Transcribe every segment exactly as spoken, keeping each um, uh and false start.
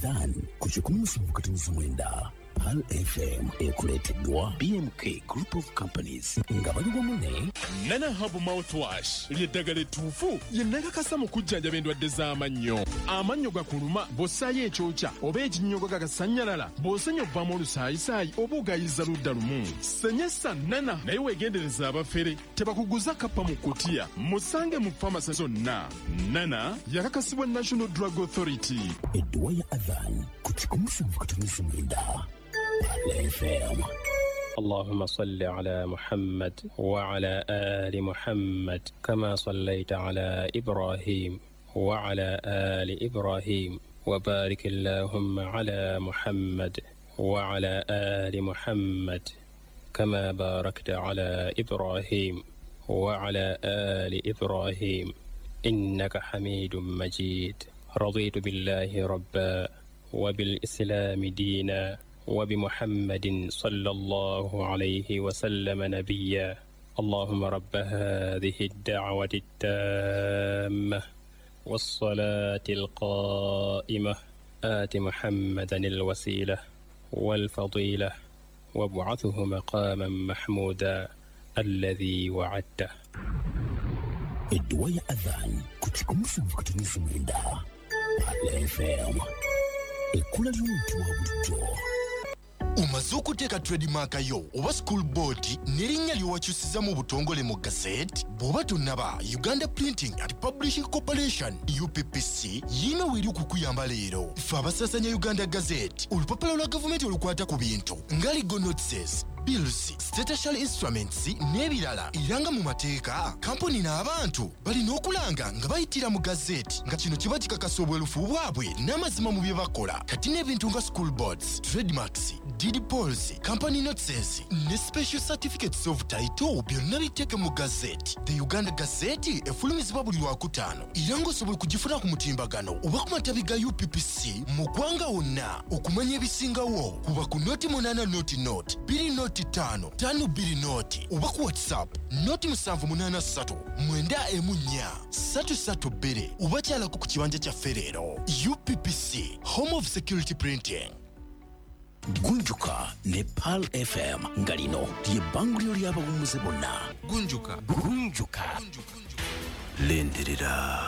Adhan ku kikumi musanvu katonnyeza mwenda Pearl F M, ekuleeteddwa B M K Group of Companies nga bali wamu ne Nana Herbal Mouthwash ly'eddagala ettuufu lye nakakasa mu kujjanjaba endwadde z'amannyo. Amannyo gakuluma bw'ossaayo ekyokya oba ekinnyogo gagasannyalala, bw'osenya ovaamu olusaayisaayi oba ogayiza ludda lumu. Senyesa Nana, naye weegendereza abafere tebakuguza kappa mu kutiya. Musange mu famasi zonna. Nana yakakasibwa National Drug Authority. Edduwa ya Adhan ku kikumi musanvu katonnyeza mwenda Pearl F M. اللهم صل على محمد وعلى آل محمد كما صليت على إبراهيم وعلى آل إبراهيم، وبارك اللهم على محمد وعلى آل محمد كما باركت على إبراهيم وعلى آل إبراهيم، إنك حميد مجيد. رضيت بالله ربا، وبالإسلام دينا، وبمحمد صلى الله عليه وسلم نبيا. اللهم رب هذه الدعوة التامة والصلاة القائمة، آت محمدا الوسيلة والفضيلة، وابعثه مقاما محمودا الذي وعدته. Edduwa ya Adhan ku kikumi musanvu katonnyeza mwenda Pearl F M, ekkula ly'omuntu wa bulijjo. Omaze okuteeka trademark yo oba school board n'erinnya ly'owakyusiza mu butongole mu gazette? Bw'oba tonnaba, Uganda Printing and Publishing Corporation, U P P C, yiina weeri okukuyamba leero. Ffe abasaasanya Uganda Gazette, olupapula lwa gavumenti olukwata ku bintu nga legal notices, bills, statutory instruments n'ebirala. Era nga mu mateeka, kampuni n'abantu balina okulanga nga bayitira mu gazeti, nga kino kiba kikakasa obwerufu bwabwe n'amazima mu bye bakola. Kati n'ebintu nga school boards, trademarks, deed polls, company notices ne special certificates of title byonna biteeke mu gazeti. The Uganda Gazette efulumizibwa buli Lwakutaano, era ng'osobola okugifuna ku mutimbagano oba ku matabi ga U P P C mu ggwanga wonna. Okumanya ebisingawo, kuba ku noti munaana noti noti bbiri noti ttaano ttaano bbiri noti oba ku WhatsApp noti musanvu munaana ssatu mwenda emu nnya ssatu ssatu bbiri, oba kyalako ku kibanja kyaffe leero. U P P C, home of security printing. Gunjuka ne Pearl F M, nga lino lye bbanguliro ly'abawummuze bonna. Gunjuka. Gunjuka. Lindirira.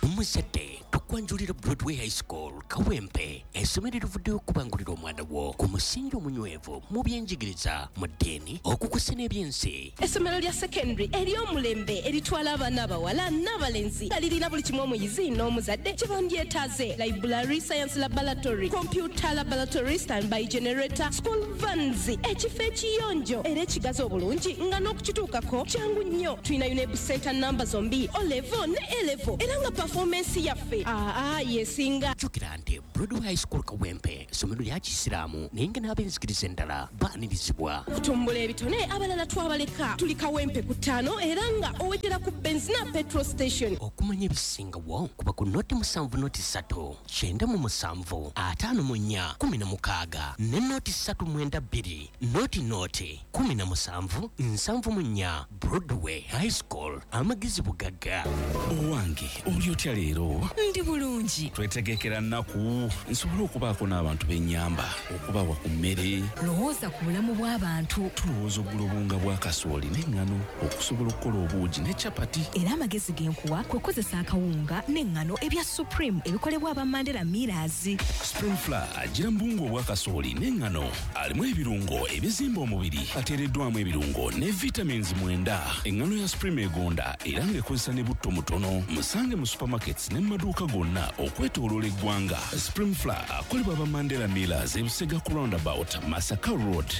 Omuzadde, tukwanjulira Broadway High School Kawempe, essomero erivuddeyo okubangulira omwana wo ku musingi omunywevu mu byenjigiriza, mu ddiini, okukusa n'ebyensi. Essomero lya secondary ery'omulembe eritwala abaana abawala n'abalenzi, nga lirina buli kimu omuyizi n'omuzadde kye bandyetaaze: library, science laboratory, computer laboratory, standby generator, school vans, ekifo ekiyonjo era ekigazi obulungi nga n'okukituukako kyangu nnyo. Tulina UNEB center namba zombi, O level ne A level, era nga performance yaffe aa yesinga. Jjukira nti Broadway High School Kawempe essomero lya Kisiraamu, naye nga n'ab'enzikiriza endala baanirizibwa. Okutumbula ebitone, abalala twabaleka. Tuli Kawempe ku ttaano, era nga owetera ku Benzina petrol station. Okumanya ebisingawo, kuba ku noti musanvu noti ssatu kyenda mu musanvu ataano mu nnya kumi na mukaaga ne noti ssatu mwenda bbiri noti noti kumi na musanvu nsanvu mu nnya. Broadway High School, amagezi bugagga. Owange, oli otya leero? Ndi bulungi. Twetegekera nnaku nsobole okubaako n'abantu b'ennyamba, okubawa ku mmere. Lowooza ku bulamu bw'abantu. Tulowooza okugula obuwunga bwa kasooli n'eŋŋano okusobola okukola obuugi ne capati. Era amagezi ge nkuwa kwe kukozesa akawunga n'eŋŋano ebya Supreme ebikolebwa aba Mandela Millers. Supreme Flour agira mu buwunga obwa kasooli n'eŋŋano, alimu ebirungo ebizimba omubiri, ateereddwamu ebirungo ne vitamins mwenda. Eŋŋano ya Supreme egonda era ng'ekozesa ne butto mutono. Musange mu supermarkets ne mu maduuka gonna okwetooloola eggwanga. Supreme Flour akolebwa aba Mandela Millers, Ebusega ku roundabout, Masaka Road.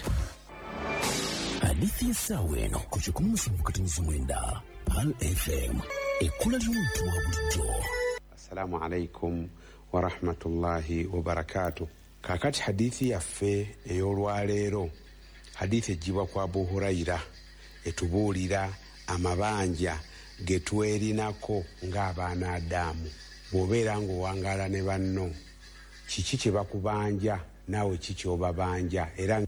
Hadithi y'essaawa eno ku kikumi musanvu katonnyeza mwenda Pearl F M, ekkula ly'omuntu wa bulijjo. Assalamu alaikum warahmatullahi wabarakatu. Kakati hadithi yaffe ey'olwaleero, hadithi eggyibwa ku Abu Hurayira, etubuulira amabanja ge twerinako ng'abaana Adamu. Bw'obeera ng'owangaala ne banno, kiki kye bakubanja, naawe ki ky'obabanja, era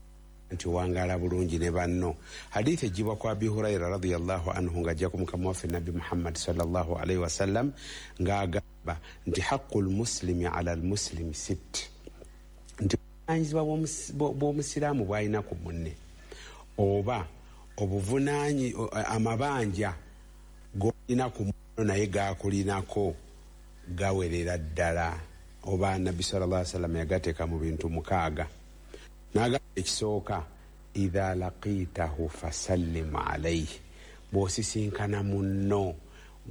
nti owangaala bulungi ne banno? Hadithi eggyibwa ku Abi Hurayira radiyallahu anhu, ng'ajja ku mukama waffe Nabbi Muhammad sallallahu alaihi wasallam ng'agamba N'agamba nti haqqul muslimi ala almuslimi sit, nti obuvunaanyizibwa bw'omusiraamu bw'alina ku munne oba obuvunaanyi amabanja g'olina ku munno naye gaakulinako gawerera ddala. Oba Nabbi sallallahu alaihi wasallam yagateeka mu bintu mukaaga. N'agamba ekisooka, idha laqitahu fasallim alayhi, bw'osisinkana munno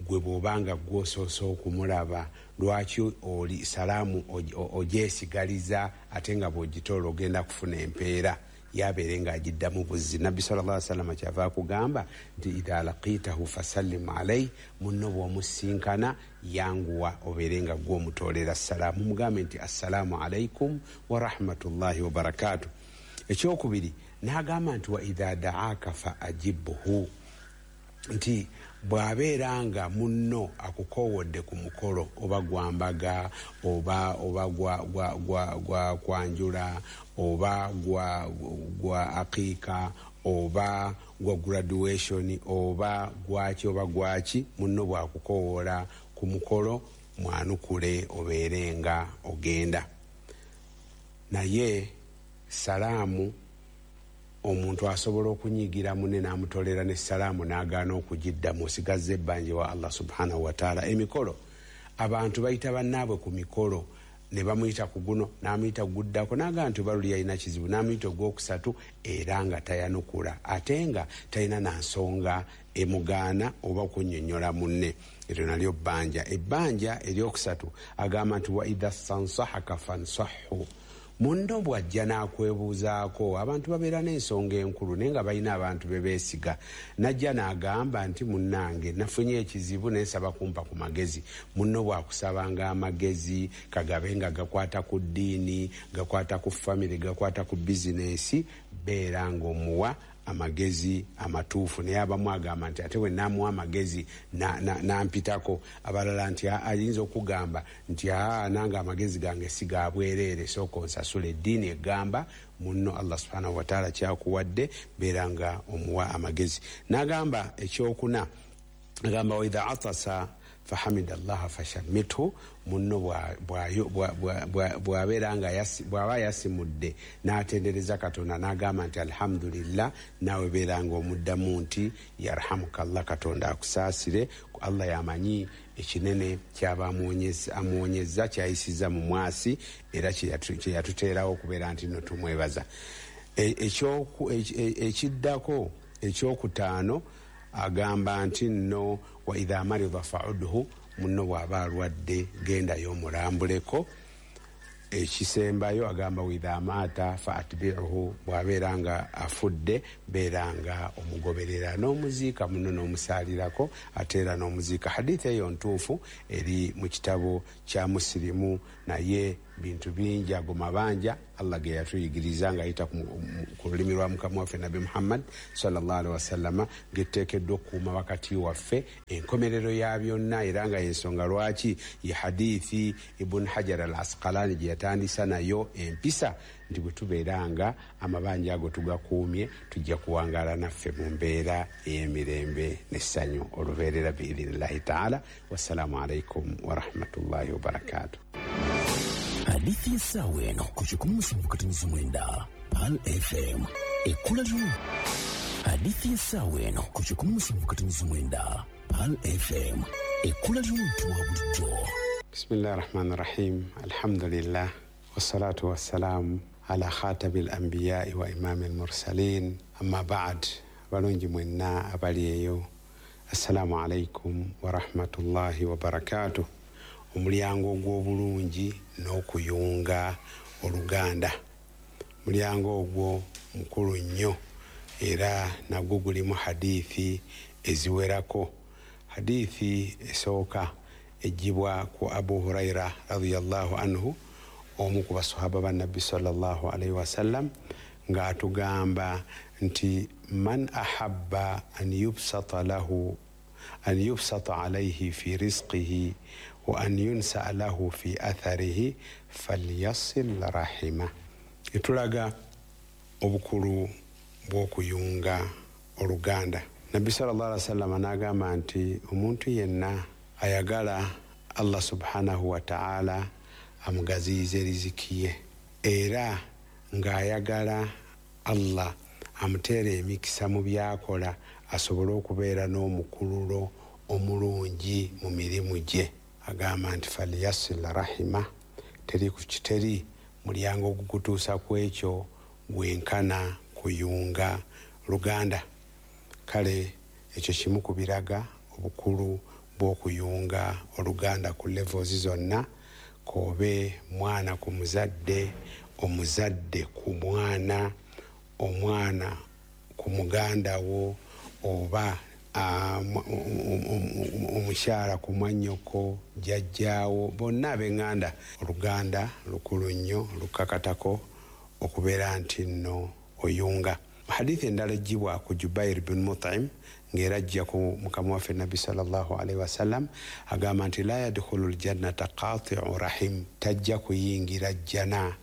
gwe bw'obanga gw'osoose okumulaba lwaki oli salaamu ogyesigaliza ate nga bw'ogitoola ogenda kufuna empeera yabeere ng'agiddamu buzzi. Nabbi sallallahu alaihi wasallam kyava akugamba nti idha laqitahu fasallim alayhi, munno bw'omusinkana yanguwa obeere nga gw'omutoolera salaamu, mugambe nti assalaamu alaikum wa rahmatullahi wa barakatuh. Ekyokubiri n'agamba nti wa idha da'aka fa ajibhu, nti bw'abeera nga munno akukoowodde ku mukolo oba gwa mbaga oba oba gwa gwa gwa gwa kwanjula oba gwa gwa aqiika oba gwa graduation oba gwaki oba gwaki, munno bw'akukowoola ku mukolo mwanukule obeere nga ogenda. Naye salaamu omuntu asobola okunyigira munne n'amutolera ne salaamu n'agaana okugiddamu, osigazza ebbanja wa Allah subhanahu wa taala. Emikolo abantu bayita bannaabwe ku mikolo ne bamuyita ku guno n'amuyita guddako n'agamba nti baluli yalina kizibu n'amuyita ogwokusatu era nga tayanukula ate nga talina na nsonga emugaana oba okunnyonnyola munne. Eryo nalyo bbanja. Ebbanja eryokusatu agamba nti wa idha stansahaka fansahhu, munno bw'ajja n'akwebuuzaako, abantu babeera n'ensonga enkulu naye nga balina abantu be beesiga, n'ajja n'agamba nti munnange nafunye ekizibu naye nsaba kumpa ku magezi. Munno bw'akusabanga amagezi kagabe nga gakwata ku ddiini, gakwata ku famire, gakwata ku bizinesi, beera ng'omuwa amagezi amatuufu. Naye abamu agamba nti ate bwe naamuwa amagezi nampitako, abalala nti ayinza okugamba nti aa nange amagezi gange si ga bwereere, sooka onsasula. Eddiini egamba munno Allah subhanahu wa taala kyakuwadde beera nga omuwa amagezi. N'agamba ekyokuna, agamba wa idha atasa fahamida allaha fashammithu, munno bw'abeera nga bw'aba yasimudde n'atendereza Katonda n'agamba nti alhamdulillah, naawe beera nga omuddamu nti yarhamukallah, Katonda akusaasire. Allah yamanyi ekinene kyaba amuwonyezza kyayisizza mu mwasi era kye yatuteerawo okubeera nti nno tumwebaza. Ekiddako ekyokutaano agamba nti nno wa idha marida fa'udhu, munno bw'aba alwadde gendayo omulambuleko. Ekisembayo agamba wa idha maata fa atbi'uhu, bw'abeera nga afudde beera nga omugoberera n'omuziika munno n'omusaalirako ate era n'omuziika. Hadithi eyo ntuufu eri mu kitabo kya Musilimu, naye bintu bingi ago mabanja Allah ge yatuyigiriza ng'ayita ku lulimi lwa Mukama waffe Nabbi Muhammad sallallahu alaihi wasallama, geteekeddwa okukuuma wakati waffe enkomerero ya byonna. Era nga y'ensonga lwaki ye hadithi Ibn Hajar al Asqalani gye yatandisa nayo empisa nti bwe tubeera nga amabanja ago tugakuumye tujja kuwangaala naffe mu mbeera ey'emirembe n'essanyu olubeerera biidhinillahi taala. Wassalaamu alaikum warahmatullahi wabarakatuh. Hadithi y'essaawa eno ku kikumi musanvu katonnyeze mwenda Pearl F M ekkula lyo. Hadithi y'essaawa eno ku kikumi musanvu katonnyeze mwenda Pearl F M ekkula ly'omuntu wa bulijjo. Bismillahi rahmani rahim, alhamdulillah wassalatu wassalamu ala khatami al-anbiyai wa imami al-mursalin, amma ba'd. Balungi mwenna abali eyo, assalamu alaikum wa rahmatullahi wa barakatuh. Omulyango ogw'obulungi n'okuyunga oluganda, mulyango ogwo mukulu nnyo era nagwo gulimu hadithi eziwerako. Hadithi esooka ejjibwa ku Abu Huraira radiyallahu anhu, omu ku basahaba ba Nabbi sallallahu alaihi wasallam, ng'atugamba nti man ahabba an yubsata lahu an yubsata alayhi fi rizqihi wa an yunsa lahu fi atharihi falyasil rahima. Etulaga obukulu bw'okuyunga oluganda. Nabbi sallallahu alaihi wasallam n'agamba nti omuntu yenna ayagala Allah subhanahu wa ta'ala amugaziyize riziki ye, era ng'ayagala Allah amuteere emikisa mu by'akola asobole okubeera n'omukululo omulungi mu mirimu gye. Agamba nti falyasil rahima, teri ku kiteri mulyango ogukutuusa ku ekyo gwenkana kuyunga luganda. Kale ekyo kimu ku biraga obukulu bw'okuyunga oluganda ku levels zonna, k'obe mwana ku muzadde, omuzadde ku mwana, omwana ku muganda wo, oba omukyala ku mwannyoko, jjajjaawo, bonna ab'eŋŋanda. Oluganda lukulu nnyo, lukakatako okubeera nti nno oyunga. Hadithi endala eggyibwa ku Jubair bin Mut'im ng'era ajja ku mukama waffe Nabbi sallallahu alaihi wasallam, agamba nti la yadkhulu ljannata qati'u rahim, tajja kuyingira jjana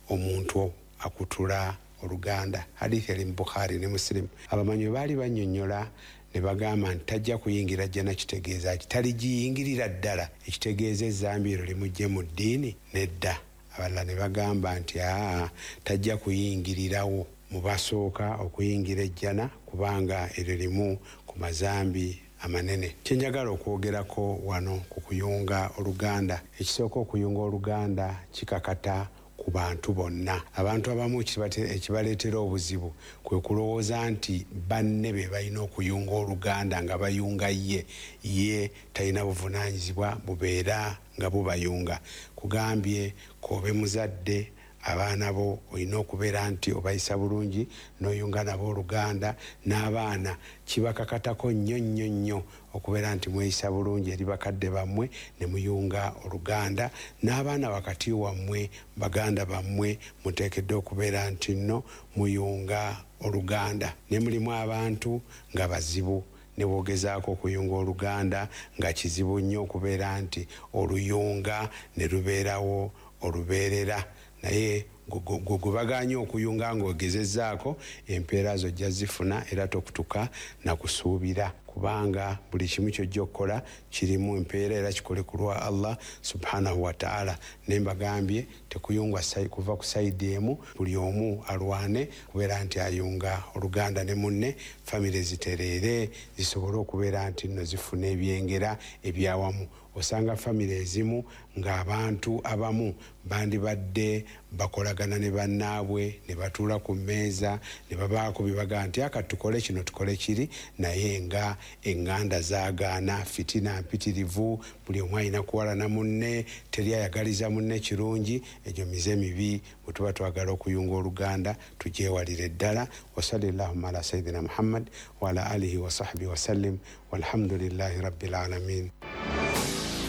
omuntu akutula oluganda. Hadithi eri mu Bukhari ne Muslim. Abamanyi baali bannyonnyola ne bagamba nti tajja kuyingira jjana kitegeeza ki? Taligiyingirira ddala, ekitegeeza ezzambi eryo limujje mu ddiini? Nedda. Abalala ne bagamba nti aa, tajja kuyingirirawo mu basooka okuyingira ejjana, kubanga eryo limu ku mazambi amanene. Kye njagala okwogerako wano ku kuyunga oluganda, ekisooka okuyunga oluganda kikakata ku bantu bonna. Abantu abamu ekibaleetera obuzibu kwe kulowooza nti banne be balina okuyunga oluganda nga bayunga ye, ye talina buvunaanyizibwa bubeera nga bubayunga. Kugambye k'obe muzadde, abaana bo olina okubeera nti obayisa bulungi n'oyunga nabo oluganda, n'abaana kibakakatako nnyo nnyo nnyo okubeera nti mweyisa bulungi eri bakadde bammwe ne muyunga oluganda, n'abaana wakati wammwe baganda bammwe muteekeddwa okubeera nti nno muyunga oluganda. Ne mulimu abantu nga bazibu, ne bw'ogezaako okuyunga oluganda nga kizibu nnyo okubeera nti oluyunga ne lubeerawo olubeerera, naye gwe bagaanye okuyunga ng'ogezezzaako empeera zo ojja zifuna era tokutuka na kusuubira, kubanga buli kimu ky'ojja okukola kirimu empeera era kikole ku lwa Allah subhanahu wa ta'ala. Ne mbagambye tekuyungwa kuva ku sayidi emu, buli omu alwane kubeera nti ayunga oluganda ne munne, famire zitereere zisobole okubeera nti nno zifuna ebyengera ebyawamu. Osanga famire ezimu ng'abantu abamu bandibadde bakolagana ne bannaabwe ne batuula ku mmeeza ne babaako bye bagamba nti aka tukole kino tukole kiri, naye nga eŋŋanda zaagaana, fitina mpitirivu, buli omu alina kuwalana munne, teri ayagaliza munne kirungi. Egyo mize mibi. Bwe tuba twagala okuyunga oluganda tugyewalire ddala. Wasalli llahumma ala sayyidina Muhammad wa ala alihi wa sahbihi wasallim, walhamdulillahi rabbil alamin.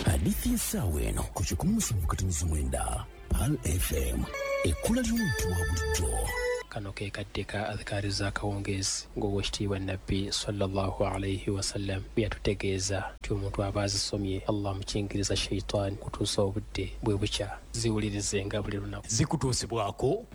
Hadithi y'essaawa eno ku kikumi musanvu katonnyeza mwenda Pearl F M, ekkula ly'omuntu wa bulijjo. Kano ke kadde ka adhikaari z'akawungeezi ng'owekitiibwa Nabbi sallallahu alaihi wasallam bwe yatutegeeza nti omuntu aba azisomye Allah amukingiriza shaitaani kutuusa obudde bwe bukya. Ziwulirizenga buli lunaku. Zikutuusibwako